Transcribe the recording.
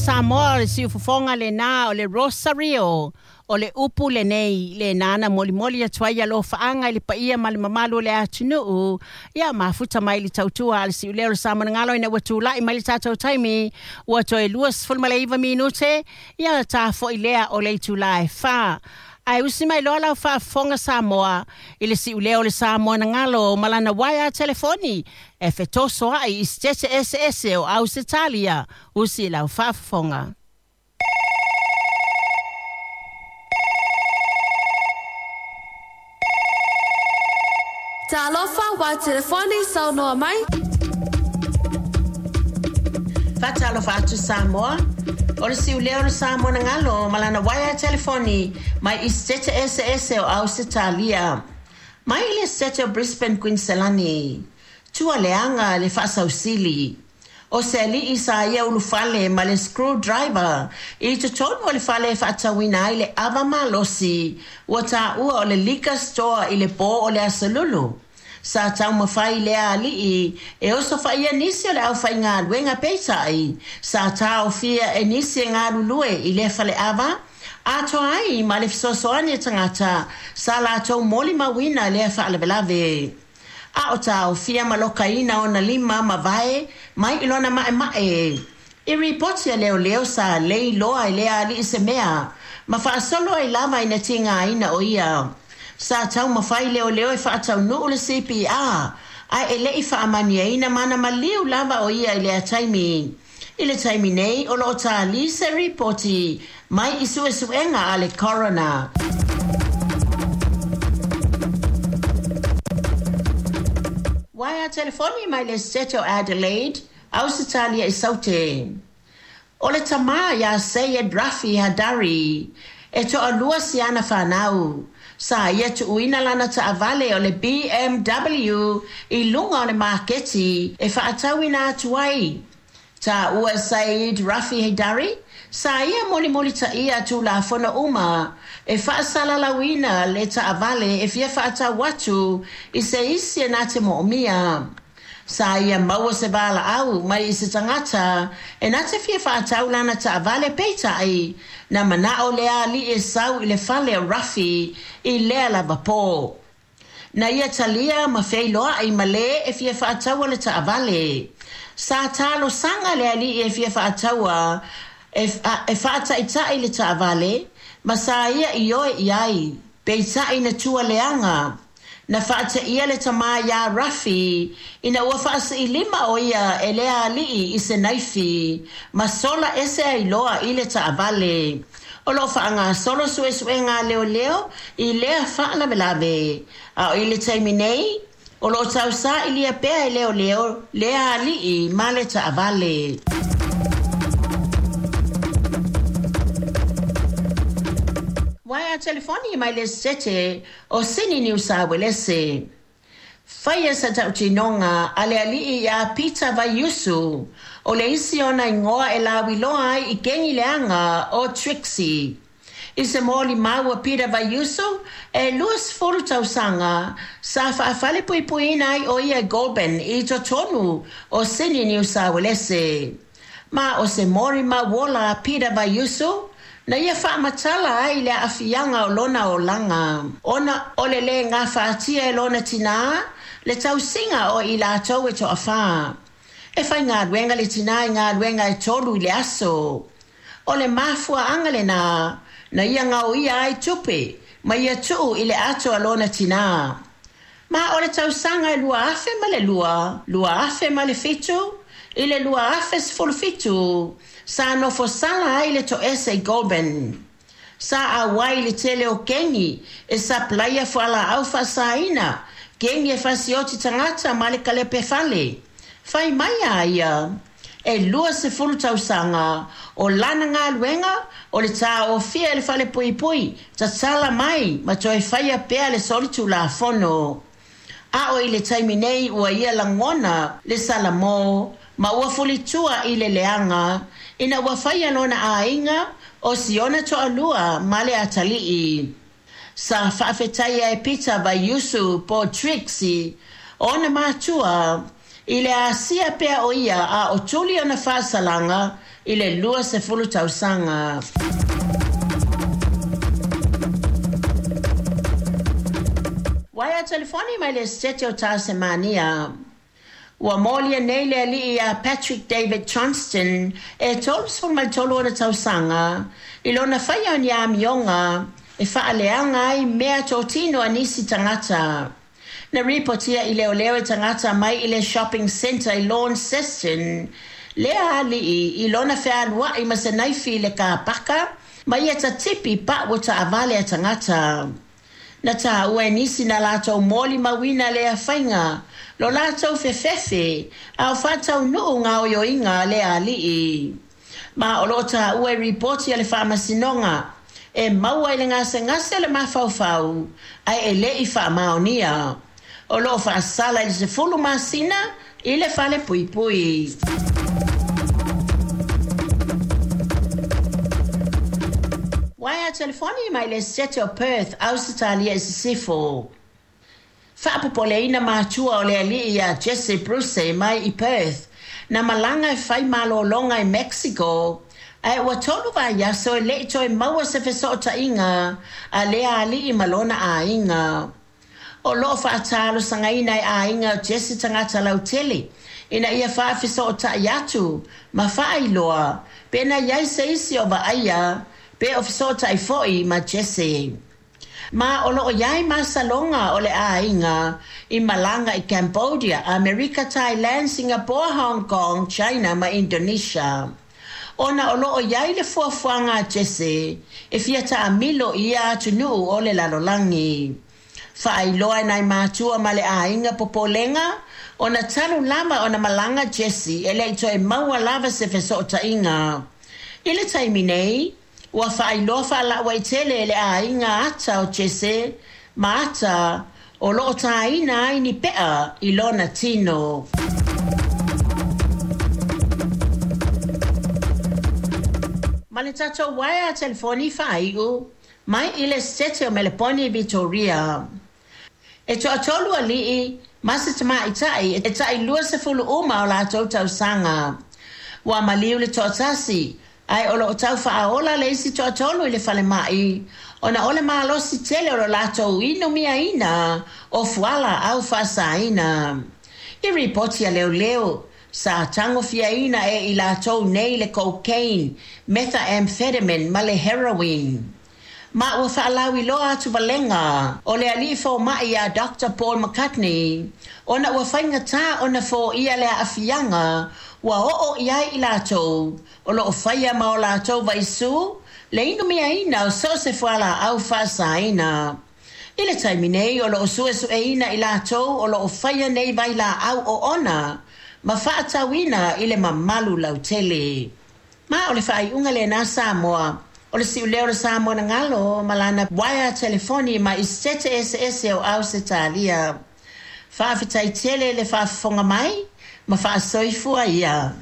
Samoa, o le siufofoga lenā o le Rosario, o le upu lenei lenā na molimoli atu ai alofaaga i le paia ma le mamalu o le atunuu, ia mafuta mai le tautua a le siuleo o le Samoa na galo ina ua tula'i mai le tatou taimi ua toe 29 minute ia ta fo'i lea o le itulā e 4. Ae usi mai loa lau faafofoga Samoa i le siuleo o le Samoa na galo ma lana uaea telefoni e fetosoa'i i sitete eseese o Ausetalia. Usi lau faafofoga. Talofa wa telefoni saunoa mai. Faatalofa atu Samoa, o le siuleo o le Samoa na galo ma lana uaea telefoni mai i sitete eseese o Ausetalia. Mai i le sitete o Brisbane, Kuiniselani, tua leaga le faasausili. O se ali'i sa ia ulufale ma le screwdriver i totonu o le fale e faatauina ai le ava malosi ua taua o le liquor store i le pō o le Aso Lulu. Sa taumafai lea ali'i e osofaia nisi o le aufaigaluega peitai sa taofia e nisi e galulue i lea faleava atoa ai ma le fesoasoani a tagata sa latou molimauina lea faalavelave. A o taofia ma lokaina ona lima ma vae mai i lona ma'ema'e. I ripoti a leoleo sa lei loa e lea ali'i se mea ma faasolo ai lava ina tigaina o ia. Sa taumafai leoleo e faataunuu le CPR ae e le'i faamaniaina mana maliu lava o ia i lea taimi. I le taimi nei o loo tālī se ripoti mai i suesuega a le coroner. Uaea telefoni mai le Sitete o Adelaide, Ausetalia i Saute. O le tamā iā Sayed Rafi Hadari, e toalua si ana fanau. Sa ia tuuina lana taavale o le BMW i luga o le maketi e faatauina atu ai. Taua e Said Rafi Haidari, sa ia mulimulitaia tulafono uma e faasalalauina le taavale e fia faatau atu i se isi e na te moomia. Sa ia maua se valaau mai i se tagata e na te fia faatau lana taavale peitai na manao lea ali'i e sau i le fale o Rafi i lea lava pō. Na ia talia ma feiloai ma lē e fia faataua le taavale. Sa talosaga le ali'i e fia faataua e faataita'i le taavale ma sa ia ioe i ai, peitai na tua leaga. Na faateia le tamā iā Rafi ina ua faasiilima o ia e lea ali'i i se naifi ma sola ese ai loa i le taavale. O loo faagasolo suesuega a leoleo i lea faalavelave. A o i le taimi nei, o loo tausaili pea e leoleo lea ali'i ma le taavale. Uaea telefoni mai le Sitete o Sini Niu Sa Uelese. Faia sa tautinoga a le ali'i iā Peter Vaiusu, o le isi ona igoa e lauiloa ai i kegi leaga o Trixie. I se molimau a Peter Vaiusu e 20 tausaga sa faafalepuipuiina ai o ia i Goulburn i totonu o Sini Niu Sa Uelese. Ma o se molimau ola a Peter Vaiusu na ia faamatala ai le aafiaga o lona olaga. Ona o le lē gafatia e lona tinā le tausiga o i latou e toafā. E faigaluega le tinā i galuega e 3 i le aso. O le mafuaaga lenā na ia gaoia ai tupe ma ia tuu i le ato a lona tinā. Ma o le tausaga e 2002, 2007, i le 2017, sa nofosala ai le toese i Goulburn. Sa auai le tele o kegi e sapalaia fualaau faasaina, kegi e fasioti tagata ma le kalepe fale. Fai mai a ia, e 20 tausaga o lana galuega o le taofia e le falepuipui, tatala mai ma toe faia pea le solitulafono. A o i le taimi nei ua ia lagona le salamō ma ua fulitua i le leaga ina ua faia lona aiga o siona toalua ma le atalii. Sa faafetaia e Peter Vaiusu po Trixie ona matua I le asia pea o ia a o tuli ona faasalaga i le 20 tausaga. Uaea telefoni mai le Setete o Tasemania. Ua molia nei le alii ia Patrick David Johnston e 33 ona tausaga i lona faia o ni amioga e faaleaga ai meatotino a nisi tagata. Na ripotia i leoleo e tagata mai i le shopping centre i Launceston lea alii i lona fealuai ma se naifi i le kapaka ma ia tatipi pau o taavale a tagata. Na taua e nisi na latou molimauina lea faiga lo latou fefefe a o faataunuu gaoioiga a lea alii. Ma o loo taua i ripoti a le faamasinoga e maua i le gasegase o le mafaufau ae e lei faamaonia. O loo faasala i le 10 masina i le fale puipui. Uaea telefoni mai le Setete o Perth, Ausetalia i Sisifo. Faapopoleina matua o le alii ia Jesse Bruce mai i Perth, na malaga e fai malologa i Mexico, ae ua 3 vaiaso e lei toe maua se fesootaiga a lea alii ma lona aiga. O loo faatalosagaina e aiga o Jesse tagata lautele ina ia faafesootai atu ma faailoa pe na iai se isi o vaaia pe o fesootai foi ma Jesse. Ma o loo iai masaloga o le aiga i malaga i Cambodia, Amerika, Thailand, Singapore, Hong Kong, China ma Indonesia. Ona o loo iai le fuafuaga a Jesse e fia taamilo i ia atunuu o le lalolagi. Faailoa e nai matua ma le aiga popolega ona talu lava ona malaga Jesse e lei toe maua lava se fesootaiga. I le taimi nei, ua faailoa faalauaitele e le aiga ata o Jesse ma ata o loo tāina ai ni pea i lona tino. Ma le tatou uaea telefoni faaiu mai i le Setete o Meleponi i Vitoria. E toatolu alii ma se tamaitai e tai 20 uma o latou tausaga. Ua maliu le toatasi, ae o loo tau faaola le isi toatolu i le falemai, ona o le malosi tele o lo latou inumiaina o fualaau faasaina. I ripoti a leoleo, sa tagofiaina e i latou nei le cocaine, methamphetamine ma le heroin. Ma ua faalauiloa atu valega o le alii fomai ia Dr Paul McCartney ona ua faigatā ona foia le aafiaga ua oo i ai i latou o loo faia ma o latou vaisū le inumiaina o so o se fualaau faasaina. I le taimi nei o loo suesueina i latou o loo faia nei vailaau oona ma faatauina i le mamalu lautele. Ma o le faaiuga lenā Samoa, o le siuleo o le Samoa na galo ma lana uaea telefoni mai i Setete eseese o Ausetalia. Faafetai tele le faafofoga mai ma faasoifua ia.